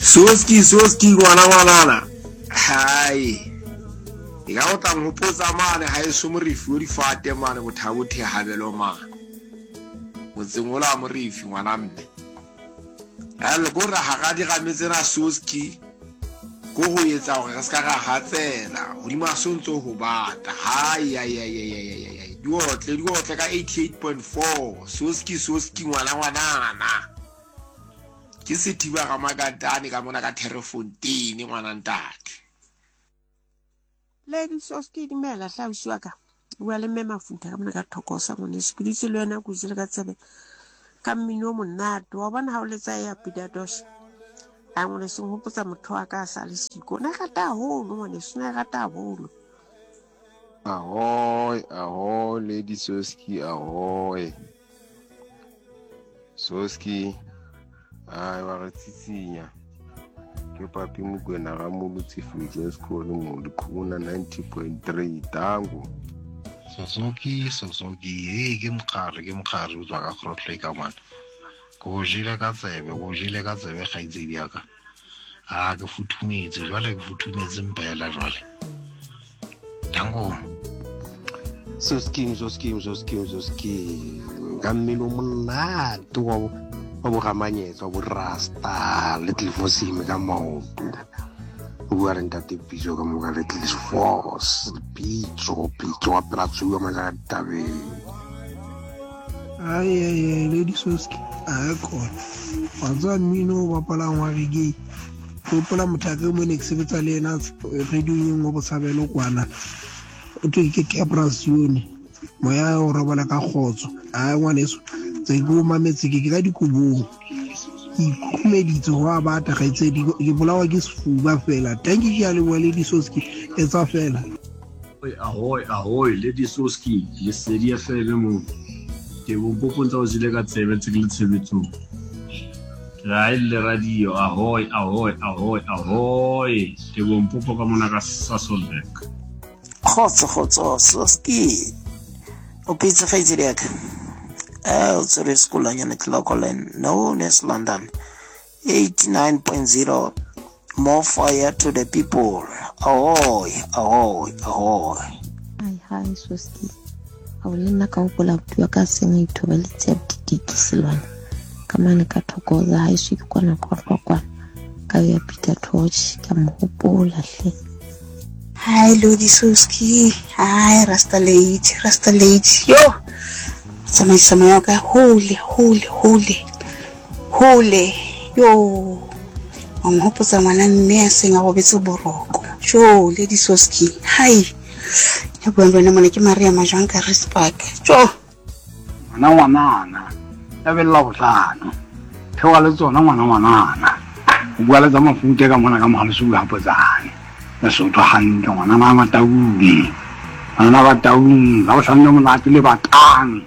Soski soski ngwana ngwanana. Hai. E ka o tla nhopotsa mane ha eso morifi o difate mane bothabo thehabelo mane. Motseng ola morifi ngwana mme. Hell ko re hara dirame tsena soski ko ho etsa hore re ska ra hatsela hodima so ntso ho bata. Hai ai ai ai ai ai ai. Diotle diotle ka 88.4 soski soski ngwana ngwanana. Ke Sethiba Ramakatane ka mona ka Terrefontein ngwana ntate. Lady Soski dumela hle ausi wa ka. Bua le mme Mafutha ka mona ka Thokoza ngwaneso. Ke dutse le wena ke o jele ka tsebe ka mmino o monate. Wa bona ha o letsa ya Pida Dosh. A ngwaneso nghopotsa motho wa ka a sa le siko. O ne a rata haholo ngwaneso, o ne a rata haholo. Ahoy, ahoy, Lady Soski, ahoy. Soski, ai wa re tsitsinya. Ke papi Mokwena ga Molotsi Fusion School mo Lekhuna 90.3 Tango. Sosoki, Sosoki, hey ke mokgare, ke mokgare o tswa ka Grootlooi ka mona. Ke o jele ka tsebe, ke o jele ka tsebe kgaitsedi ya ka. A ke futhumetse jwale, ke futhumetse mpela jwale. Tango. Sosking, sosking, sosking, sosking. Ka mmino monate wa wa boramanyetsa wa borasta Little Force ka maoto. O bua le ntate Pitso ka moka Little Force, Pitso, Pitso wa pela tsuwa majaka ditabeng. Ai ai ai Lady Soski, a kona. Wa tseba mmino o bapalang wa reggae. Ke gopola motho a ke mo ne ke sebetsa le yena radiong e nngwe botshabelo kwana. O thwe ke Capra Sione. Moya o robala ka kgotso. Ai ngwaneso, tse ke o mametse ke ke ka dikobong. Ke ikhukhumeditse go a bata kgaitsedi, ke bolawa ke sefuba fela. Thank you ke a leboha Lady Soski. Etsa fela. Ahoy, ahoy, Lady Soski, Lesedi FM mo. Ke bompopong tsa o jele ka tsebe tse ke le tshebetsong. Ke re ha e le radio, ahoy, ahoy, ahoy, ahoy. Ke bompopo ka mona ka Sasolburg. Kgotso, kgotso, Soski. O phetse kgaitsedi ya ka? Eh, o tshwere sekolanyana Clocolan, known as London. 89.0 More fire to the people. Ahoy, ahoy, ahoy. Hi, hi, Soski. A o le nna ka gopola buti wa ka seng a ithobaletse ya botitiki selwana ka mane ka thokoza ha eso ke kwana qwaqwa kwana ka ya Peter Torch ka mo gopola hle. Hi Lodi Soski, hi Rasta Lady, Rasta Lady. Yo, tsamaisa moya wa ka hole, hole, hole. Hole, yo, wa nghopotsa ngwana mme a seng a robetse boroko. Jo, Lady Soski, hai. Ya buang le wena mona ke Maria Majwang ka Rispark. Jo. Ngwana ngwanana, ya bella bohlano. Theoga le tsona ngwana ngwanana. O bua le tsa mafute ka mona ka mogalesu ga potsane. Lesotho hantle ngwanana wa Mataung. Ngwanana wa Taung, la bohlano le monate le batang.